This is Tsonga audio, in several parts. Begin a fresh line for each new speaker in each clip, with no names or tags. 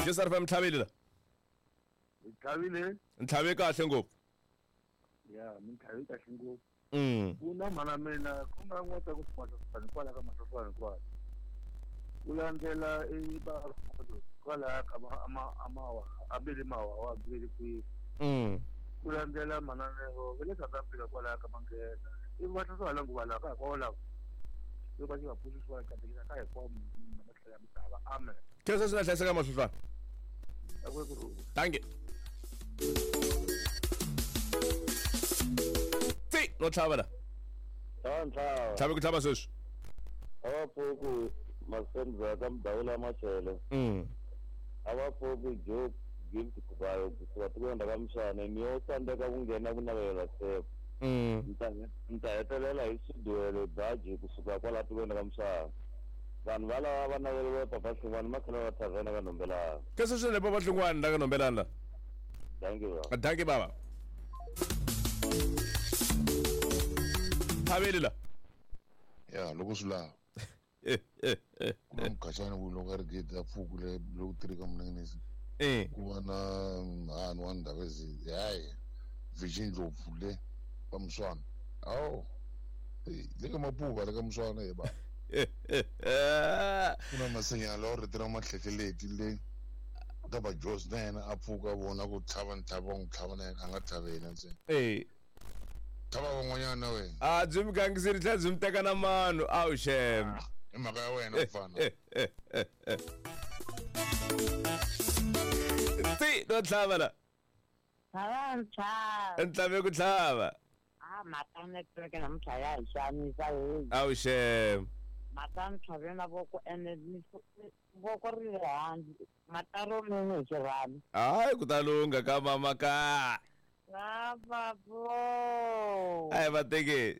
Jesarfm tlhavile la.
Hi tlhavile.
Ntlhave kahle ngopfu.
Ya, mi ntlhave kahle ngopfu. Ku na mhana mina ku nga n'wata ku sifani kwala ka mahlofana kwala. Ku landzela i ba kwala ka ama amawa abili mawa wa bili kwi. Ku landzela mananelo va le South Africa kwala ka manghena. I va tlhela nguva la ka kwala. Loko va pfuxisiwa katekisa ka hinkwawo matlhelo ya misava. Amen.
Khensa swi na hlayiseka mahlofana. Thank you. Ti no tlhava la.
Ntlhava.
Tlhave ku tlhava sweswi.
A va pfuki masendza ka mudawula machele. A va pfuki joke gift kuvayo kusuka tikweni ra ka Mshana mi yo tsandzeka ku nghena ku navelela step. Mi ta hetelela hi swiduwelo baji kusuka kwala tikweni ra ka Mshana. Vanhu va lava va naveleriwa Papa Hlungwani makhela va thavhena ka Nhombelani.
Khensa swinene Papa Hlungwani la ka Nhombelani la.
Thank you baba.
Thank you baba. Thaveli la.
Ya loko swi lava. Ku na mukhaxani ku loko a ri gede a pfuku le loko tirhi ka munengenesi. Ku va na mhani wa ndhawu ezi hayi Virgin Ndlopfu le ka Muswana. Awu le ka Mapuva le ka Muswana ye ba. Ku na masinya lawa rito ra mahlehleleti le ka va Jos na yena a pfuka vona ku tlhava ni tlhava n'wi tlhava na yena a nga tlhavi yena ntsena. Tlhava van'wanyana na wena.
A byi mi gangisile tlhela byi mi teka na mano awu xem.
I mhaka ya wena mfana.
Ti no tlhava la.
Tlhava ntlhava.
Ntlhave ku tlhava.
A mhaka network namuntlha ya hi xanisa heyi.
Awu xem.
Mhaka ntlhave na voko ene voko ri le handle. Mhaka ro mini hi xirhami.
Hayi ku ta lungha ka mama ka.
Lavavo.
A hi va tekeni.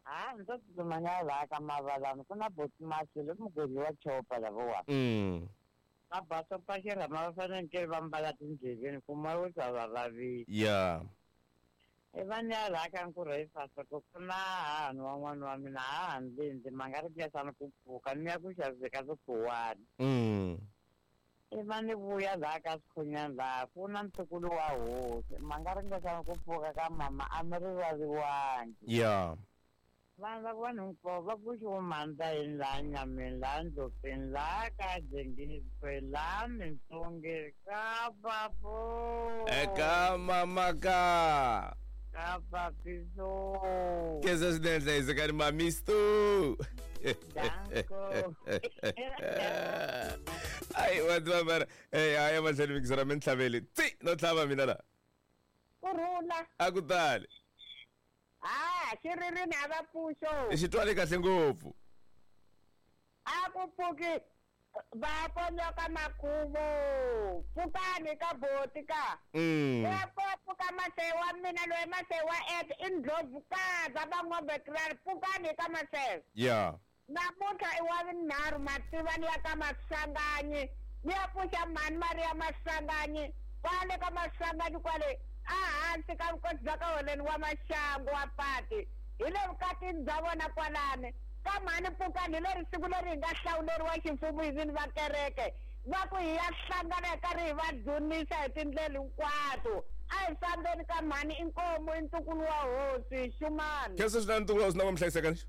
Ha ndzi tsutsuma ni ya laha ka mavalani ku na boti Masilo mugwedli wa chopa lavawa. Va basopa xirhama va fanekele va mbala tindleveni ku moya wu ta va vavisa.
Ya.
I va ni ya laha ka nkurhu hi fasa ku ku na hahani wan'wana wa mina hahani lindzi ma nga ri ngesani ku pfuka ni ya ku xaviseka swikhuwani. I va ni vuya laha ka swikhunyani laha ku na ntukulu wa hosi ma nga ringesani ku pfuka ka mama a mi rivaliwangi.
Ya.
Vanhu va vanhu hinkwavo va pfuxiwe mandla yini laha nyameni laha ndlopfeni laha ka dengizwe laha mintsonge ka papo.
Eka mama ka.
Ka papiso.
Khensa swinene hlayisekani mamisto.
Danko.
Ayi vanhu va mara hayi mahlweni mikisera mi ntlhaveli ti no tlhava mina la.
Kurhula.
A ku tali.
Ah, xiririni a va pfuxo.
Xi twale kahle ngopfu.
A ku pfuki va ponyoka makhuvo. Pfukani ka boti ka. Ya pfuka masewa wa mina loyi masewa et i ndlovukazi va ngombe krari pfukani ka masewa.
Ya.
Namuntlha i wa vunharhu mativani ya ka Masanganyi. Ni ya pfuxa mhani Maria Masanganyi kwale ka Masanganyi kwale a hansi ka vukosi bya ka holeni wa maxangu wa pati hi le vukatini bya vona kwalani ka mhani pfukani hi leri siku leri hi nga hlawuleriwa ximfumo hi vini va kereke va ku hi ya hlangana hi karhi hi va dzunisa hi tindlela hinkwato a hi fambeni ka mhani i nkomu i ntukulu wa hosi xumani.
Khensa swinene ntukulu wa hosi na va mi hlayiseka ni.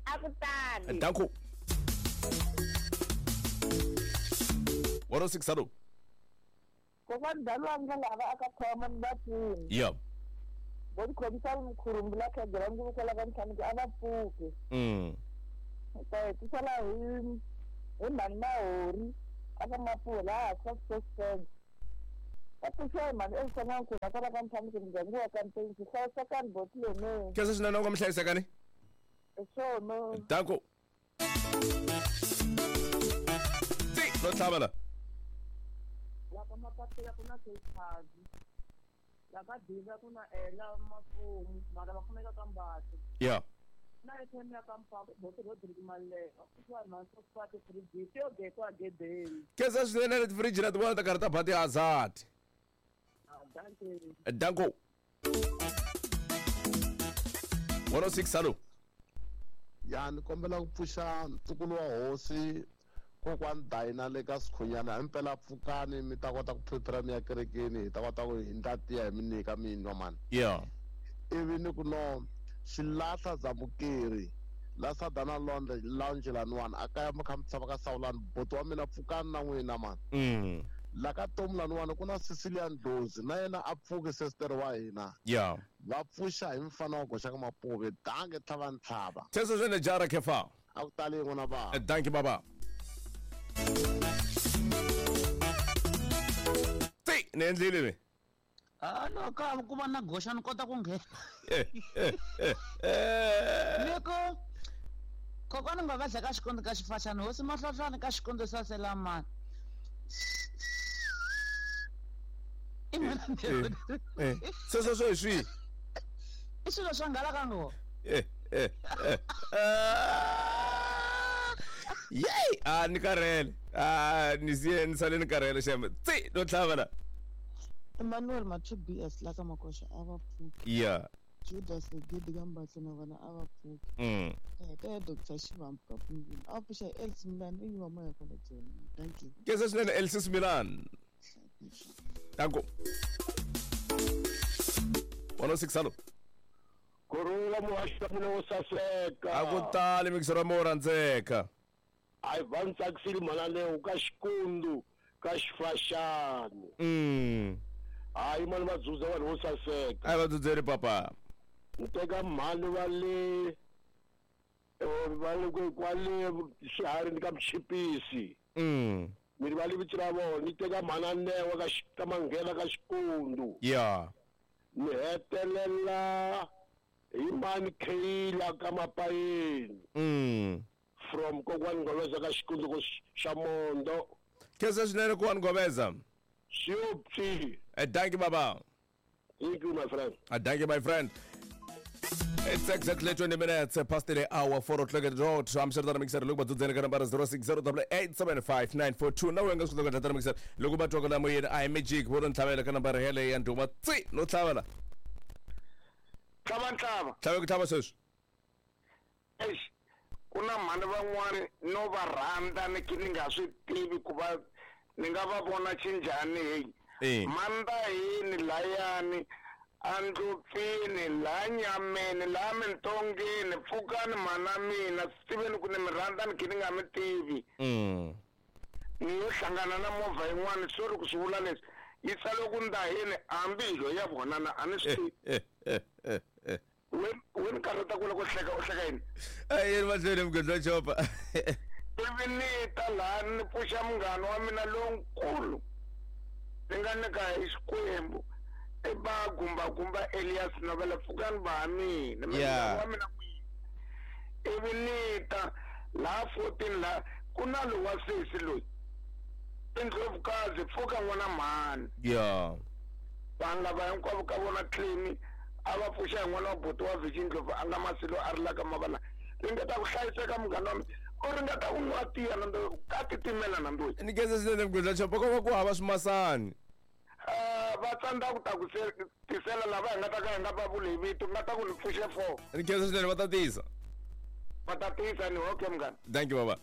A ku tali.
Danko. 106 hello.
Kokwana Dlala ndlela va aka khoma ni vapfuni.
Ya.
Vo tikhomisa mkhurumbu la khegela ndzi kwala ka ntlhanu ku a va pfuki. Ta hetisela hi hi mhani Mahori aka Mapuwa laha ka Suspense. Va pfuxiwa hi mhani Elsa N'wankuna kwala ka ntlhanu ku ndyangu wa ka Mpensi hlayisekani boti lene.
Khensa swinene u nga mi hlayisekani.
Hi swona.
Danko. Ti no tlhava la.
La ka Mapapila ku na Cape La ka Diva ku na Ela Mafumu mara va kumeka ka Mbatha.
Ya.
Na ATM ya ka Mpako boti Rodrick Maleka kusuhani na Sosifati fridge yo gekwa gedeni.
Khensa swinene leti fridge na ti vona ta karhi ta ba ti-hazard. Danko. 106 hello.
Ya ni kombela ku pfuxa ntukulu wa hosi Kokwani Dayina le ka Sikhunyana impela pfukani mi ta kota ku prepare mi ya kerekeni hi ta kota ku hi ndla tiya hi mi nyika mi nwa mani.
Yeah.
Ivi ni ku no xilahla Zamukeri la Sadana Lounge laniwani a kaya mi kha mi tshama ka Sawulani buti wa mina pfukani na n'wina mani. La ka Tomu laniwani ku na Cecilia Ndlozi na yena a pfuki sister wa hina.
Yeah.
Va pfuxa hi mfana wa goxa ka Mapuve dange tlhava ntlhava.
Teso swene jara kefa.
A ku tali n'wana ba.
Thank you baba. Ti ni endlile mi.
Ah no ka ku va na goxa ni kota ku nghena. Loko kokwana nga va ka xikondo ka xifaxana hosi mahlohlwana ka xikondo sasela mani.
Sweswo swo hi swihi?
I swilo swa nghala ka ngo.
Yey, a ni karhele. A ni siye ni sale ni karhele xem. Tsi no tlhava la.
Emmanuel Mathu BS la ka Makoxa a va pfuki.
Yeah.
Judas Gidi ka Mbatlo na vona a va pfuki. Ka Dr. Shivambu ka Pungula. A pfuxa Elsie Milan i wa moya kwala Joni. Thank you.
Kesa swinene Elsie Milan. Danko. 106 hello.
Kurula muhaxa mina wo saseka.
A ku tali mixero mo rhandzeka.
A va ni tsakisile mhana leyo ka Xikundu ka Xifaxani. Hayi mani va dzudza vanhu vo saseka.
A va dzudzeli papa.
Ni teka mhani va le va le kwale xiharhi ka Mchipisi. Mi va le vito ra vona ni teka mhana Newa ka Manghena ka Xikundu.
Yeah.
Ni hetelela hi mani Kayla ka Mapayeni. From kokwani Ngobeza ka Xikundu ko xa Mondo.
Kesa swinene kokwani Ngobeza.
Siyopsi.
Thank you baba.
Thank you my friend.
Thank you my friend. It's exactly 20 minutes past the hour, 4 o'clock at the road. I'm sure that I'm excited. Look, but the number 060887594. Now we're going to look at the mixer. Look about talking about I magic. We're on Tavela number Hele and Duma. Tsi, no Tavela.
Tlava ntlhava.
Tlava ku tlhava sweswi.
Eish, ku na mhani van'wani no va rhandza ni ni nga swi tivi ku va ni nga va vona xinjhani heyi. Mandahini layani andlopfini la nyameni la mintongeni pfukani mhana mina swi tiveni ku ni mi rhandza ni khe ni nga mi tivi. Ni yo hlangana na movha yin'wana sorry ku swi vula leswi yi tsale ku ndahini hambi hi lo ya vonana a ni swi tivi. We ni karhata ku loko hleka u hleka yini?
Yini mahlweni mugedla chopa.
Ivi ni ta laha ni pfuxa munghana wa mina lonkulu ni nga nyika hi Xikwembu i ba Gumba Elias Novela pfukani va mina wa mina ivi ni ta laha 14 laha ku na lowa sesi loyi i Ndlovukazi pfuka n'wana mhani.
Yeah.
Vanhu lava hinkwavo ka vona tlini a va pfuxa hi n'wana wa buti wa Virgin Ndlovu a nga masilo a rilaka mavala ringeta ku hlayiseka munghana wa mina u ringeta ku nwa tiya na ka titimela na ndoyi.
Ni khensa swinene mugedla chopa ko va ku hava swimasani.
Va tsandza ku ta ku tisela lava hi nga ta ka hi nga va vuli hi vito nga ta ku ni pfuxe 4.
Ni khensa swinene va ta tisa.
Va ta tisa ni okay munghana.
Thank you baba.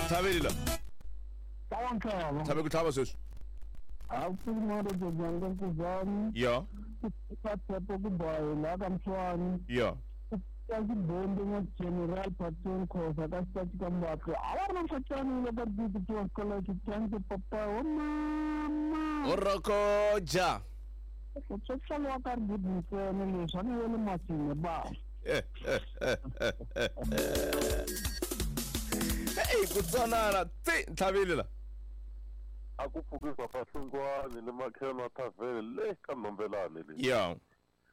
Tlhaveli la.
Tlhava ntlhava.
Tlhave ku tlhava sweswi.
A ku mara dzanga ku
Yeah.
Ka tshepo ku boy la ka Mtshwani.
Yeah.
Ka Xibombi na General Patton Khosa ka Xitachi ka Mbatlo. A va ri na mfatsani loko ri ti tiwa college thank you papa wa mama.
Orokoja.
Swi wa ka ri good ntsena leswi a ni yele masini ba.
Hey, ku tsonana tsi ntlhavile la.
A ku pfuki papa Hlungwani le makhelo wa thavhele le ka Nhombelani le.
Yeah.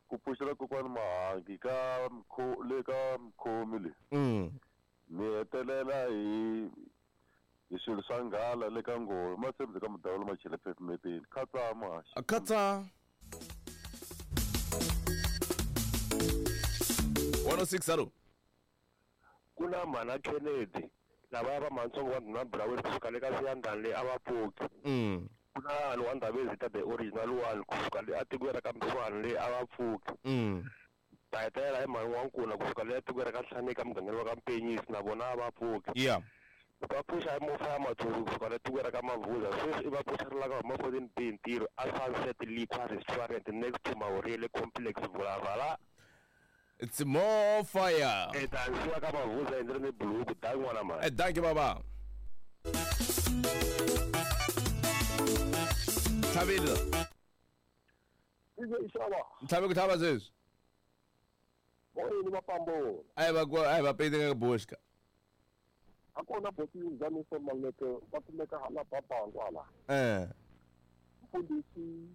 Ku pfuxela kokwani Mahangi ka le ka Mkhomi le. Ni hetelela hi swilo swa nghala le ka Nghozi matshembisi ka Mudawula Machele phefumeteni khatsa muhaxi.
Khatsa. 106 hello.
Ku na mhana Kennedy lava va mantsongo wa Ndhuna Brown kusuka le ka Siyandhani le a va pfuki. Ku na vanhu wa Ndhavezitha the original one kusuka le atikweni ra ka Mtshwani le a va pfuki.
Ta hetelela hi mhani wa nkuna kusuka le tikweni ra ka Hlanika mugangeni wa ka Mpenyisi na vona a va pfuki.
Yeah.
Va pfuxa hi mofa ya Matsongo kusuka le tikweni ra ka Mavuza sweswi i va pfuxerelaka huma 14 B ntirho a Sunset Liquor Restaurant next to Mahorele Complex Vulavala.
It's more fire.
E ta nsiwa ka Mavuza hi ndzi ri ni buluku da n'wana mhani.
Eh dankie baba. Tlhavile. Ntlhavi ku tlhava sweswi.
Moyeni va pambola.
A va ku a va pete ka Boschka.
A kona boti Nzamiso Maleke va kumeka hala Babangu hala. Mfundhisi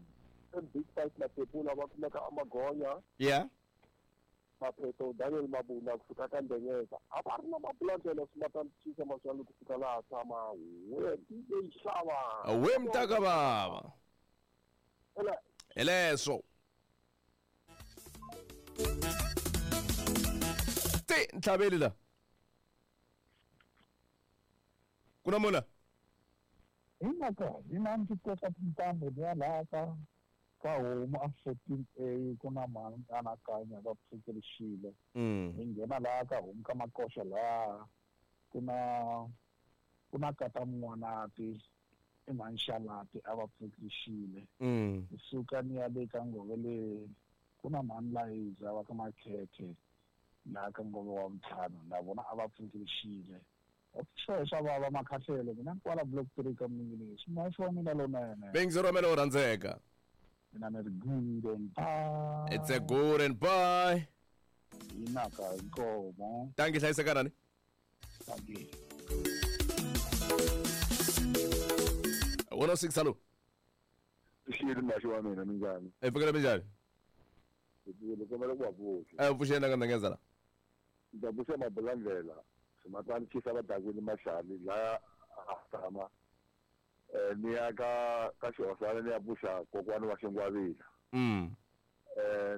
Big Five Matepula va kumeka Amagonya.
Yeah.
Mapheto Daniel Mabunda kusuka ka Ndenyeza. A va ri na mabulandlela swi mata chisa maswalo kusuka laha tshama. We DJ Xava.
We mtaka baba.
Ela.
Eleso. Ti ntlhaveli la. Kuna mona.
Hinaka, hina ndzi teka tintambu liya laha ka homu a 14A ku na mhani anakanya va pfukerixile. Hi nghena laha ka homu ka makoxa laha ku na kata mun'wanati i mhani Xalati a va pfukerixile. Hi suka ni ya le ka ngove le ku na mhani Layiza va ka Makhethe laha ka ngove wa ntlhanu na vona a va pfukerixile. Swo swa vava makhahlelo mina kwala block 3 ka mingini swi wa mina lonene.
Bengzi romela u rhandzeka.
Mina ni ri good and bye.
It's a good and bye.
Hinaka inkomo.
Thank you hlayisekanani.
Thank you.
106 hello.
Xiyini maxi wa mina minjhani?
E pfukela minjhani?
Hi kombela ku va pfuxa.
E pfuxeni ka ndangeza la.
Ndza pfuxa mabulandlela. Swimatani chisa vadakwini Maxali laya a tshama ni ya ka xihosana ni ya pfuxa kokwani wa Xingwavila.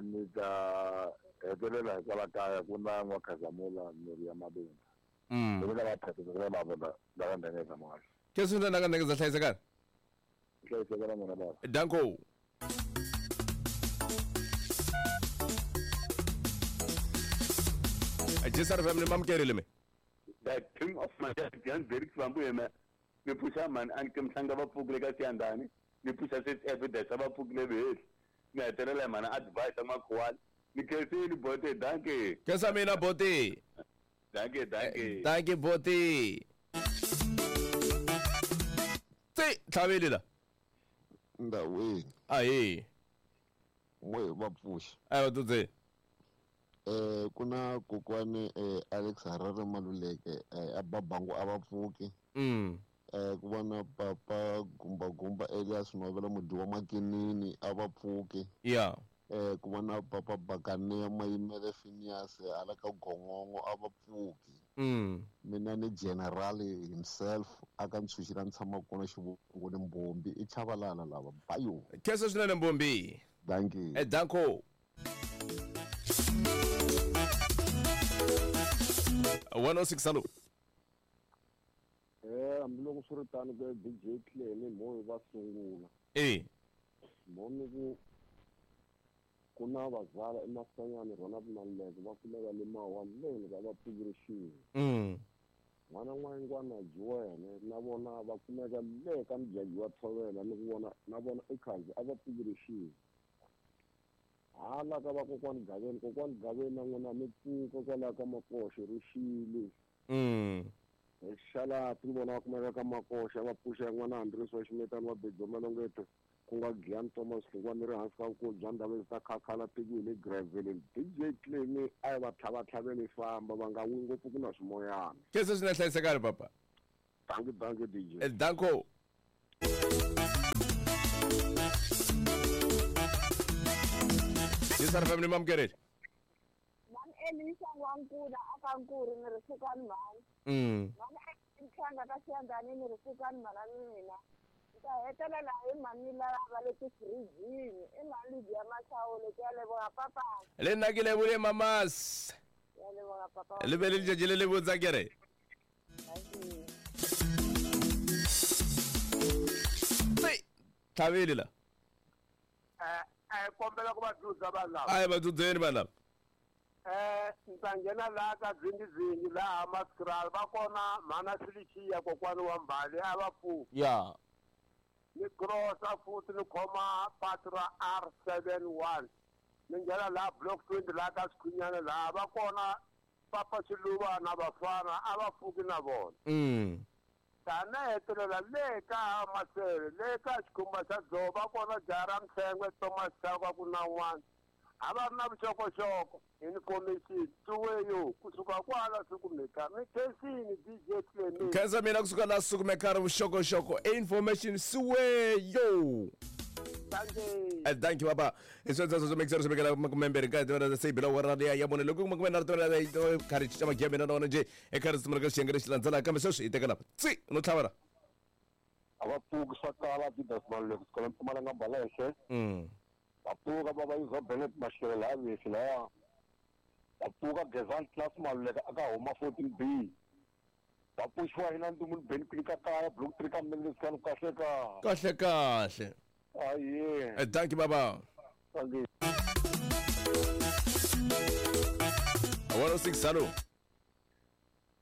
Ni ta hetelela hikwala kaya ku na N'wakhazamula mirhi ya Mabunda. Ni na vaphephe Mabunda lava ndangeza maxi.
Keswi ndza ka ndangeza hlayisekani.
Hlayisekana n'wina baba.
Danko. Jisar family mamkerile me.
The king of my Jan Derek Bambu ni pfuxa mhani a ni mhlanga va pfukile ka Siyandhani ni pfuxa swi evidence va pfukile vheli ni hetelela mhani advice makhuwani ni khensini bote dankie.
Khensa mina bote.
Dankie dankie.
Dankie bote. Ti tlhaveli la.
Ndawini.
Ahi.
N'we va pfuxa.
A va tudze.
Kuna kokwani Alex Harare Maluleke a Babangu a va pfuki. Ku vona papa Gumba Gumba Elias Novela mudyi wa Makinini a va pfuki.
Yeah.
Ku vona papa Bakane Mayimele Phineas hala ka Gongongo a va pfuki. Mina ni general himself aka ntshunxi la ni tshama kona xivongo ni Mbombi i Chavalala lava bayo.
Khensa swinene Mbombi.
Dankie.
Danko. 106 hello.
Hambiloko swi ri tano ku DJ Clem mo va sungula. Mo ni ku na vazala emasanyani rona Maluleke va kumeka le Mawani leni va pfukerixile. N'wana n'wangwana Juwene na vona va kumeka le ka Mjaji wa Tshovela ni ku vona na vona ekhanzi a va pfukerixile. Hala ka vakokwani Gaveni kokwani Gaveni na n'wina mi pfuka kwalaho ka Makoxe rixile. Xalati vona va kumeka ka Makoxe va pfuxa n'wana Andres wa Ximetani wa Bejo Malongeto ku nga Giyani Thomas Hlungwani ri hansi ka vukulu bya ndhawu ta Khakhala tiko hi le Graveleni. DJ Clem a yi va tlhavatlhaveni famba va nga wi ngopfu ku na swimoyana.
Khensa swinene hlayisekani papa.
Dankie dankie DJ.
Danko. Jisar family mamkereli.
Mhani Elisa N'wankuna aka Nkuri ni ri sukani mhani. Mhani Ntlhanga ka Siyandhani ni ri sukani mhana mina. Ni ta hetelela hi mhani lava va le tifirijini i mhani Lydia Mashawulo ke ya leboha papa.
Le nna ke lebole mamas.
Ya leboha papa.
Le be le letšatši le le botsa kere. Tlhaveli la.
Kombela ku va dzudza vanhu lava.
A hi va dzudzeni vanhu lava.
Ni ta nghena laha ka Dzingizingi laha Maskraal va kona mhana Felicia kokwani wa Mbali a va pfuki.
Ya.
Ni crossa futhi ni khoma patu ra R71 ni nghena laha block 20 laha ka Sikhunyana laha va kona Papa Xiluva na vafana a va pfuki na vona. Tana hetelela le ka Masele le ka Xikhumba xa Dzovo va kona jaha ra Mhlengwe Thomas Chauke ku na un'wana a va ri na vuxokoxoko information tsuweyo kusuka kwala sukumeka mi khensini DJ Clement.
Khensa mina kusuka la sukumeka ri vuxokoxoko information siweyo.
Thank you.
Thank you baba. Hi sweswo swo mixer swi vekela makumembirhi ka tivera se bila wa radio ya mune loko kuma na tivera karhi cinca magiya mina na wona nje eka risimu ra ka xiyenge lexi landzelaka kambe sweswi hi teka lapa tsi no tlhavela.
A va pfuki swa kala Adidas Maluleke kusukela Mpumalanga Mbalehle. Va pfuka va va yuza Bennett Mashele laha Vesi laya. Va pfuka Gezani Class Maluleke aka huma 14B. Va pfuxiwa hina Ndzumuni Ben Kwini ka kaya block 3 ka Mnelesani kahle ka.
Kahle kahle.
Aye.
Thank you baba.
Thank you.
106 hello.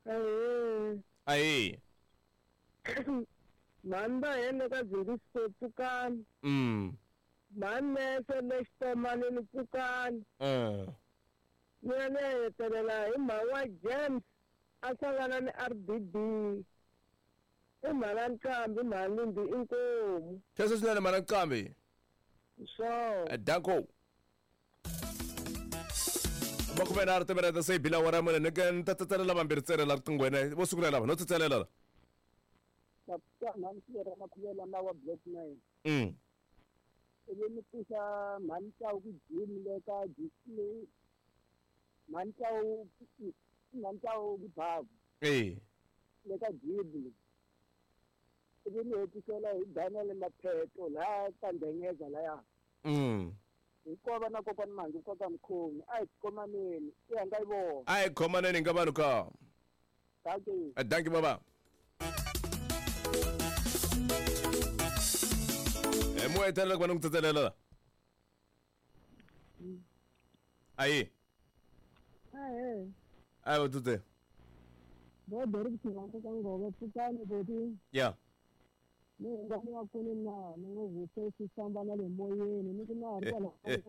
Aye.
Aye.
Manda yena ka Zingiso pfukani. Manese lexitomanini pfukani. Mina ni ya hetelela hi mhaka wa James a hlangana ni RBB. I mhana Nqambi mhana Lindi inkomu.
Khensa swinene mhana Nqambi.
Sure.
Danko. Makume nharhu timinete se yi bila awara mune ni ni ta tsatselela vambirhi tselela riqinghweni vo sungula lava no tsatselela la.
Mhani Sivera Makhuvela na wa block 9. Ivi ni pfuxa mhani Tsawu ku gym le ka mhani Tsawu ku Bavu. Le ka gym. Ivi ni hetisela hi Daniel Mapheto laha ka Ndengeza laya. Hinkova na kokwani Mangi koka Mkhomi a hi khomaneni i ya nga yi vona.
A hi khomaneni nga vanhu ka.
Thank you.
Thank you baba. Mo hetelela ku va ni ku tsatselela. Ayi.
Ayi.
Ayi va tsutse.
Bo dori ku nga ka ngove pfukani boti.
Ya.
Ni nga ni wa kuni na ni ngo vuse swi famba na le moyeni ni ku na ri kwala se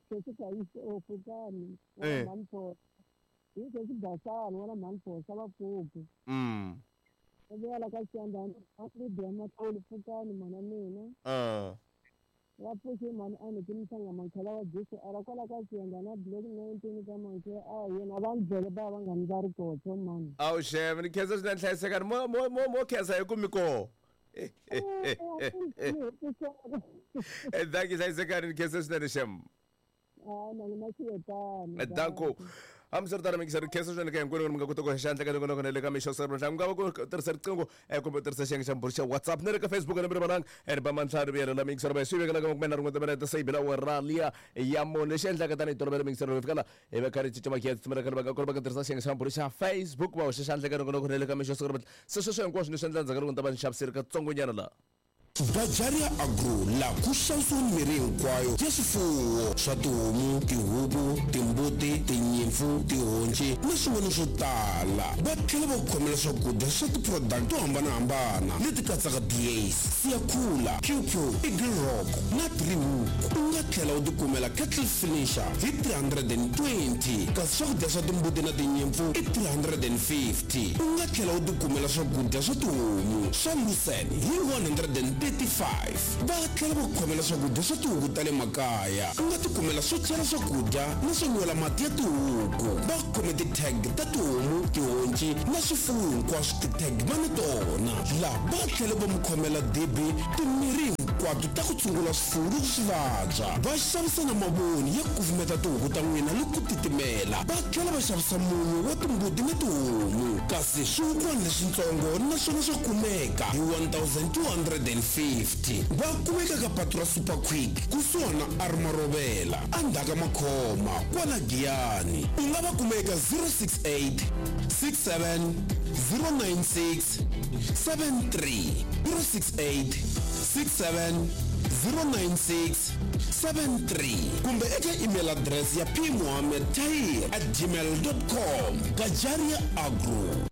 swi ka yise o pfukani wa mani hi se swi basani wa mani phosa va pfuki. Vuya ka Xiyandani a Lydia Matloli pfukani mana mina. Va pfuxi mhani a ni ki Mhlanga Mankhala wa Jesu ara kwala ka Xiyandani block 19 ka Mankhe a yena va ndlele ba va nga ni va ri kotho mani.
Awu xeve ni khensa swinene hlayisekani mo mo mo mo khensa hi ku mi koho. Thank you hlayisekani ni khensa swinene xem. Danko. Hambiswiritano mingiseri khensa swinene ka hinkwenu mi nga kota ku xandla ka loko le ka mixo siku ra nga va ku tirhisa riqingho kumbe tirhisa xiyenge xa mbhuri xa WhatsApp ni le ka Facebook ni rivalanga ri ba mantlhanu vuyelela mingiseri va swi vekela ka makume nharhu timinete se yi bila awara liya ya mune lexi endlaka tanihi tolovelo mingiseri va fika la hi va karhi cinca magiya tsutsumela ka va kona va ka tirhisa xiyenge xa mbhuri xa Facebook va hoxa xandla ka loko le ka mixo siku ra se sweswo hinkwaswo ni swi endla ndzhaku ka loko ni ta va ni xaviseri katsongonyana laha.
Bajaria Agro la ku xavisiwa mirhi hinkwayo ya swifuwo swa tihomu, tihuku, timbuti, tinyimpfu, tihonci na swin'wana swo tala. Va tlhela va ku khomela swakudya swa ti-product to hambanahambana leti katsaka Dias, Siyakhula, QQ, Eagle Rock na Three Hook. U nga tlhela u tikumela Kettle Finisher hi 320 kasi swakudya swa timbuti na tinyimpfu i 350. U nga tlhela u tikumela swakudya swa tihomu swa Lucerne hi 135. Va tlhela va ku khomela swakudya swa tihuku ta le makaya. U nga tikumela swo chela swakudya na swo nwela mati ya tihuku. Va khome ti-tag ta tihomu, tihonci na swifuwo hinkwaswo ti-tag va na tona. Laha va tlhela va mu khomela dibi timirhi hinkwato ta ku tshungula swifuwo loko swi vabya. Va xavisa na mavoni ya ku kufumeta tihuku ta n'wina loko ku titimela. Va tlhela va xavisa munyu wa timbuti na tihomu. Kasi swihukwana leswitsongo naswona swa kumeka hi 1250. Va kumeka ka patu ra Super Quick kusuhana Armarovela endzhaku ka Makhoma kwala Giyani. U nga va kuma eka 068 67 096 73 068 67 096 73 kumbe eka email address ya pmohammed tahir at gmail com. Gajaria Agro.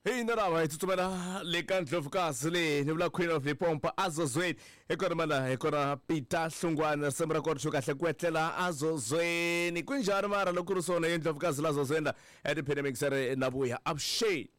Hi na lava hi tsutsumela le ka Ndlovukazi leyi ni vula Queen of Lipompo azozweni. Hi kona mana, hi kona Peter Hlungwane, risimu ra kona xo kahle ku etlela azozweni. Kunjhani mara loko ku ri swona ye Ndlovukazi la zozweni la etiphini mixere na vuya avuxeni.